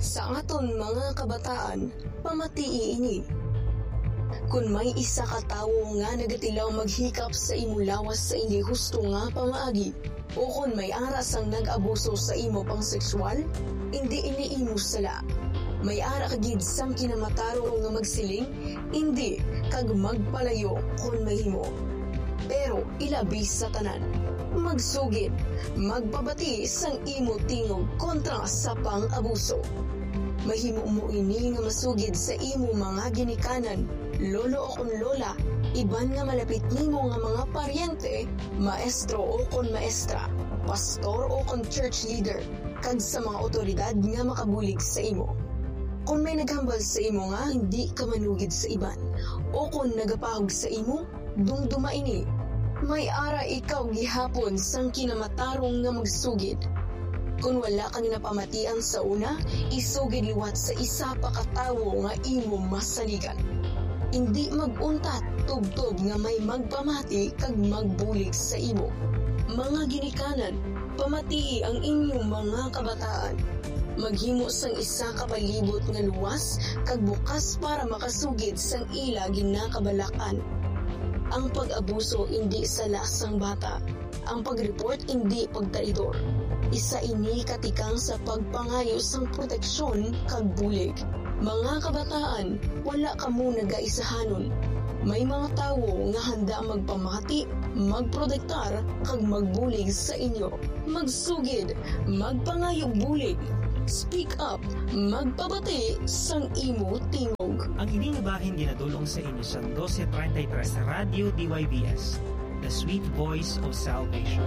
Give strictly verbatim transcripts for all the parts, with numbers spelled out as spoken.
Sa aton mga kabataan, pamatii ini. Kon may isa ka tawo nga nagatilaw maghikap sa imo lawas sa hindi husto nga pamaagi, o kon may ara sang nag-abuso sa imo pang-sexual, indi ini imo sala. May ara ka gid sang kinamatarong nga magsiling, "Indi," kag magpalayo kon mahimo. Pero ilabi sa tanan, magsugid, magpabati sang imo tingog kontra sa pang-abuso. Mahimo mo ini nga masugid sa imo mga ginikanan, lolo o kon lola, iban nga malapit nimo nga mga paryente, maestro o kon maestra, pastor o kon church leader, kag sa mga awtoridad nga makabulig sa imo. Kon may naghambal sa imo nga hindi ka manugid sa iban, o kon nagapahog sa imo, dumduma ini. May ara ikaw gihapon sang kinamatarong nga magsugid. Kon wala ka ginapamatian sa una, isugid liwat sa isa pa ka tawo nga imo masaligan. Indi mag-untat, tubtob nga may magpamati kag magbulig sa imo. Mga ginikanan, pamatii ang inyong mga kabataan. Maghimo sang isa ka palibot nga luwas kag bukas para makasugid sang ila ginakabalak-an. Ang pag-abuso indi sala sang bata. Ang pag-report indi pagtraidor. Isa ini ka tikang sa pagpangayo sang proteksyon kag bulig. Mga kabataan, wala kamo nagaisahanon. May mga tawo nga handa magpamati, magprotektar, kag magbulig sa inyo. Magsugid, magpangayo bulig. Speak up, magpabati sang imo tingog. Ang ini nga bahin ginadul-ong sa inyo sa dose treinta y tres Radyo D Y V S, the sweet voice of salvation.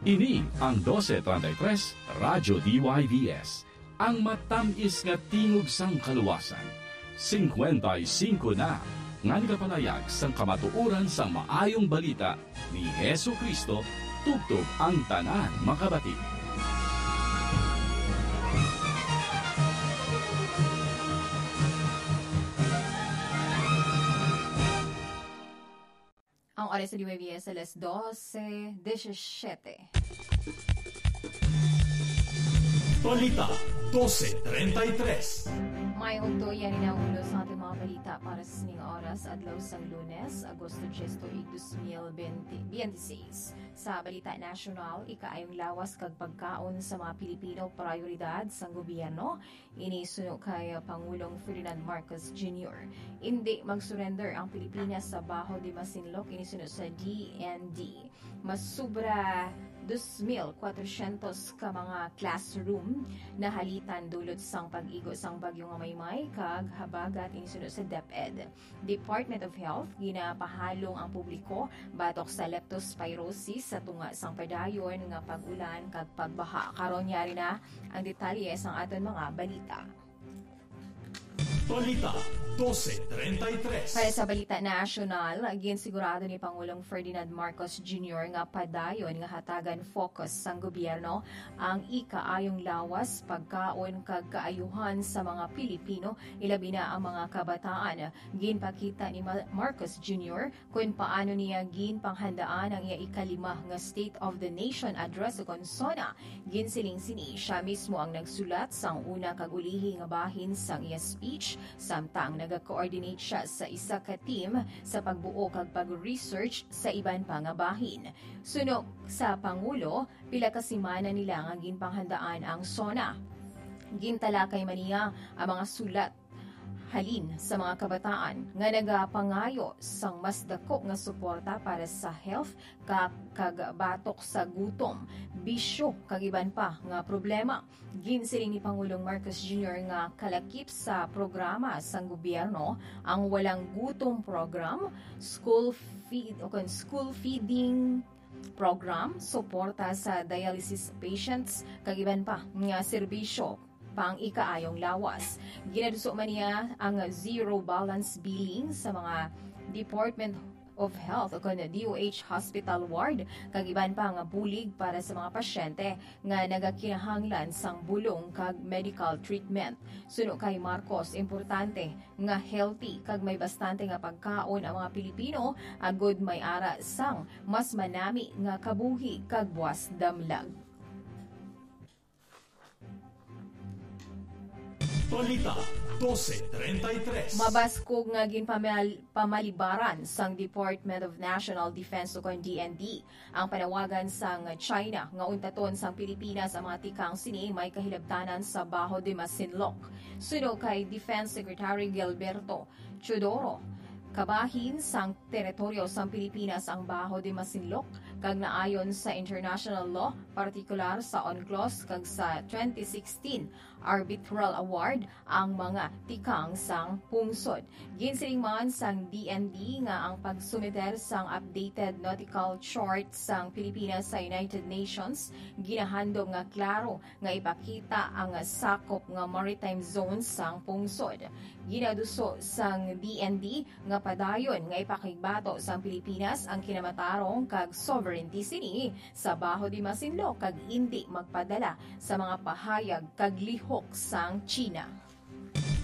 Ini ang dose treinta y tres Radyo D Y V S, ang matamis nga tingog sang kaluwasan. Singkwenta y singko na nga nagapalayag sang kamatuoran sang Maayong Balita ni Jesu-Cristo, tubtob ang tanan makabati. Ang oras sa D Y V S, alas dose diecisiete. Balita, dose treinta y tres. May ugto, yan ang ulo sa ating mga balita para sa sining oras, adlaw sang Lunes, Agosto diez, tuig dos mil bente, bente seis. Sa balita nasyonal, ikaayong lawas kag pagkaon sa mga Pilipino, prioridad sang gobyerno. Ini suno kay Pangulong Ferdinand Marcos Junior. Indi mag-surrender ang Pilipinas sa Baho de Masinloc, ini suno sa D N D. Mas sobra dos mil kwatrocientos ka mga classroom nahalitan dulot sang pag-igo sang Bagyo nga Maymay kag habagat, ini suno sa DepEd. Department of Health, ginapahalong ang publiko batok sa leptospirosis sa tunga sang padayon nga pag-ulan kag pagbaha. Karon, yari na ang detalye sang aton mga balita. Balita, dose treinta y tres. Para sa balita nasyonal, ginsigurado ni Pangulong Ferdinand Marcos Junior nga padayon nga hatagan focus sang gobyerno ang ikaayong lawas, pagkaon kag kaayuhan sa mga Pilipino, ilabi na ang mga kabataan. Ginpakita ni Ma-, Marcos Junior kon paano niya ginpanghandaan ang iya ikalima nga State of the Nation Address ukon SONA. Ginsiling sini, siya mismo ang nagsulat sang una kag ulihi nga bahin sang iya speech, samtang naga-coordinate siya sa isa ka team sa pagbuo kag pag-research sa iban pa nga bahin. Suno sa Pangulo, pila ka semana nila nga ginpanghandaan ang SONA. Gintalakay man niya ang mga sulat halin sa mga kabataan nga nagapangayo sang mas dako nga suporta para sa health ka-, kag batok sa gutom, bisyo, kag iban pa nga problema. Ginsiling ni Pangulong Marcos Junior nga kalakip sa programa sang gobyerno ang Walang Gutom Program, School Feed, o kon School Feeding Program, suporta sa dialysis patients, kag iban pa nga serbisyo pang ikaayong lawas. Ginaduso man niya ang zero balance billing sa mga department of Health o kon D O H hospital ward, kag iban pa nga bulig para sa mga pasyente nga nagakinahanglan sang bulong kag medical treatment. Suno kay Marcos, importante nga healthy kag may bastante nga pagkaon ang mga Pilipino agud may ara sang mas manami nga kabuhi kag buas damlag. Balita, dose treinta y tres. Mabaskog nga ginpamal-, pamalibaran sang Department of National Defense o kon D N D ang panawagan sang China nga untaton sang Pilipinas ang mga tikang sini may kahilabtanan sa Baho de Masinloc. Suno kay Defense Secretary Gilberto Teodoro, kabahin sang teritoryo sang Pilipinas ang Baho de Masinloc, kag naayon sa international law, partikular sa UNCLOS kag sa twenty sixteen Arbitral Award, ang mga tikang sang pungsod. Ginsiling man sang D N D nga ang pagsumiter sang updated nautical chart sang Pilipinas sa United Nations ginahandom nga klaro nga ipakita ang sakop nga maritime zone sang pungsod. Ginaduso sang D N D nga padayon nga ipakigbato sang Pilipinas ang kinamatarong kag sovereignty sini sa Baho de Masinloc kag indi magpadala sa mga pahayag kag lihok sang China.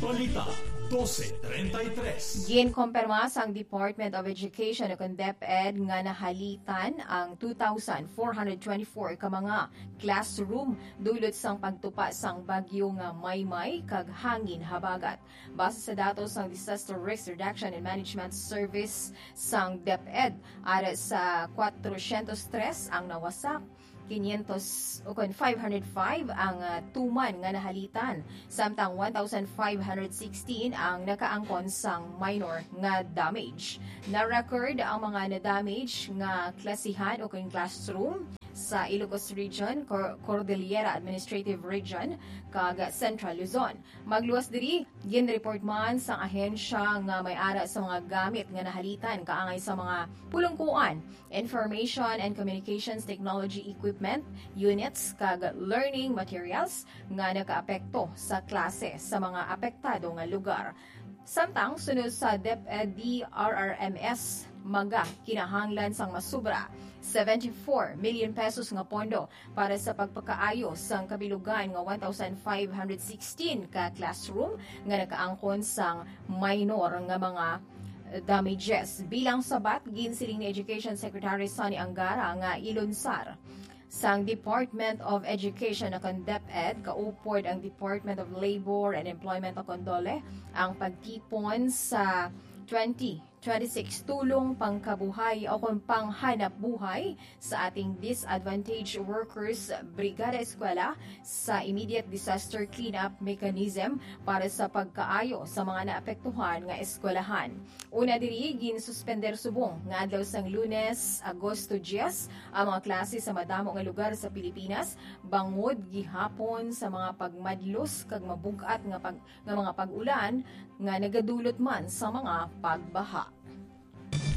Balita, dose treinta y tres. Ginkompirma sang Department of Education o kon DepEd nga nahalitan ang two thousand four hundred twenty-four ka mga classroom dulot sang pagtupa sang bagyo nga Maymay kag hangin habagat. Base sa datos sang Disaster Risk Reduction and Management Service sang DepEd, ara sa kwatrocientos tres ang nawasak, quinientos o kon five hundred five ang, ah, tuman nga nahalitan, samtang one thousand five hundred sixteen ang nakaangkon sang minor nga damage. Na-record ang mga na-damage nga klasihan o kon classroom sa Ilocos Region, Cor-, Cordillera Administrative Region, kag Central Luzon. Magluwas diri, ginreport man sang ahensya nga may ara sa mga gamit nga nahalitan kaangay sa mga pulungkuan, information and communications technology equipment, units, kag learning materials nga nakaapekto sa klase sa mga apektado nga lugar. Samtang sunod sa DepEd, D R R M S, mga kinahanglan sang masubra seventy-four million pesos nga pondo para sa pagpakaayo sang kabilugan nga one thousand five hundred sixteen ka classroom nga nakaangkon sang minor nga mga damages. Bilang sabat, ginsiling ni Education Secretary Sonny Angara nga ilunsar sang Department of Education o kon DepEd, kaupod ang Department of Labor and Employment o kon DOLE, ang pagtipon sa twenty twenty-six Tulong Pangkabuhay o kon Panghanapbuhay sa Ating Disadvantaged Workers Brigada Eskwela sa Immediate Disaster Cleanup Mechanism para sa pagkaayo sa mga naapektuhan nga eskwelahan. Una diri, ginsuspender subong nga adlaw sang Lunes, Agosto diyes, ang mga klase sa madamo nga lugar sa Pilipinas, bangod gihapon sa mga pagmadlos kag mabug-at nga pag-, nga mga pag-ulan nga nagadulot man sa mga pagbaha.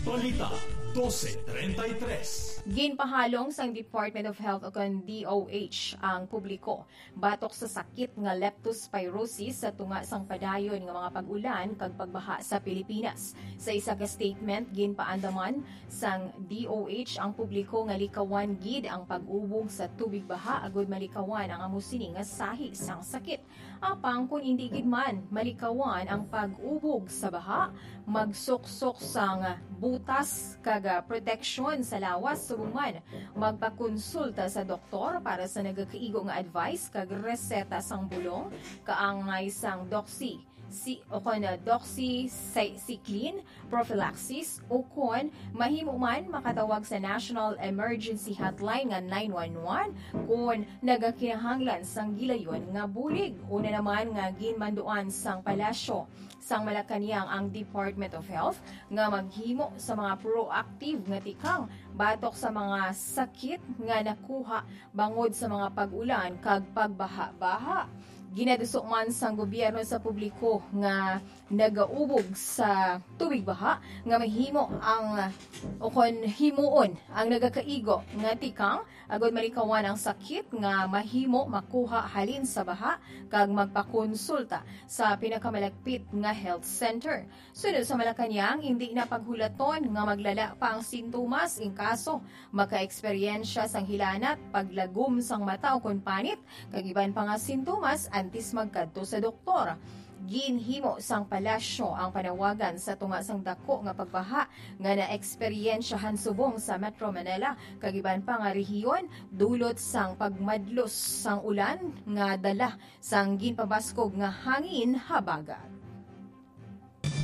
Balita, dose treinta y tres. Ginpahalong sang Department of Health o kon D O H ang publiko batok sa sakit nga leptospirosis sa tunga sang padayon nga mga pag-ulan kag pagbaha sa Pilipinas. Sa isa ka statement, ginpaandaman sang D O H ang publiko nga likawan gid ang pag-ubog sa tubig baha agud malikawan ang amo sini nga sahi sang sakit. Apang kon indi gid man malikawan ang pag-ubog sa baha, magsuksok sang butas kag, ah, proteksyon sa lawas, subong man magpakonsulta sa doktor para sa nagakaigo nga advice kag reseta sang bulong kaangay sang doxy, si, o kon, ah, doxycycline prophylaxis, o kon mahimo man makatawag sa National Emergency Hotline nga nine one one kon nagakinahanglan sang gilayon nga bulig. Una naman nga ginmanduan sang Palasyo sang Malacañang ang Department of Health nga maghimo sa mga proactive nga tikang batok sa mga sakit nga nakuha bangod sa mga pag-ulan kag pagbaha-baha. Ginaduso man sang gobyerno sa publiko nga nagaubog sa tubig baha nga mahimo ang, o kon himuon ang nagakaigo nga tikang agud malikawan ang sakit nga mahimo makuha halin sa baha kag magpakonsulta sa pinakamalapit nga health center. Sunod sa Malacañang, indi na paghulaton nga maglala pa ang sintomas in kaso makaeksperyensya sang hilanat, paglagom sang mata o kon panit, kag iban pa nga sintomas antes magkadto sa doktor. Ginhimo sang palasyo ang panawagan sa tunga sang dako nga pagbaha nga naeksperyensyahan subong sa Metro Manila, kag iban pa nga rehiyon, dulot sang pagmadlos sang ulan nga dala sang ginpabaskog nga hangin habagat.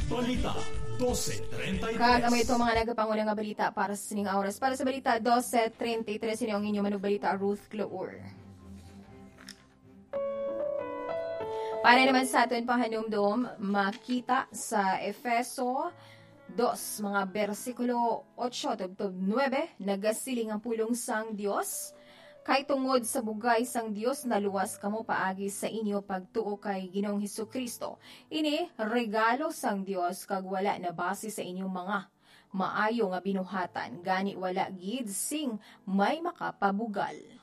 Balita, dose treinta y tres. Kag amo ito mga nagapanguna nga balita para sa sining oras. Para sa balita dose treinta y tres, ini ang inyo manugbalita, Ruth Clour. Para naman sa aton pahanumdom, makita sa Efeso dos, mga bersikulo otso tubtob nuebe, nagasiling ang pulong sang Dios, "Kay tungod sa bugay sang Dios naluwas kamo paagi sa inyo pagtuo kay Ginoong Jesu-Cristo. Ini regalo sang Dios, kag wala nabasi sa inyo mga maayo nga binuhatan, gani wala gid sing may makapabugal."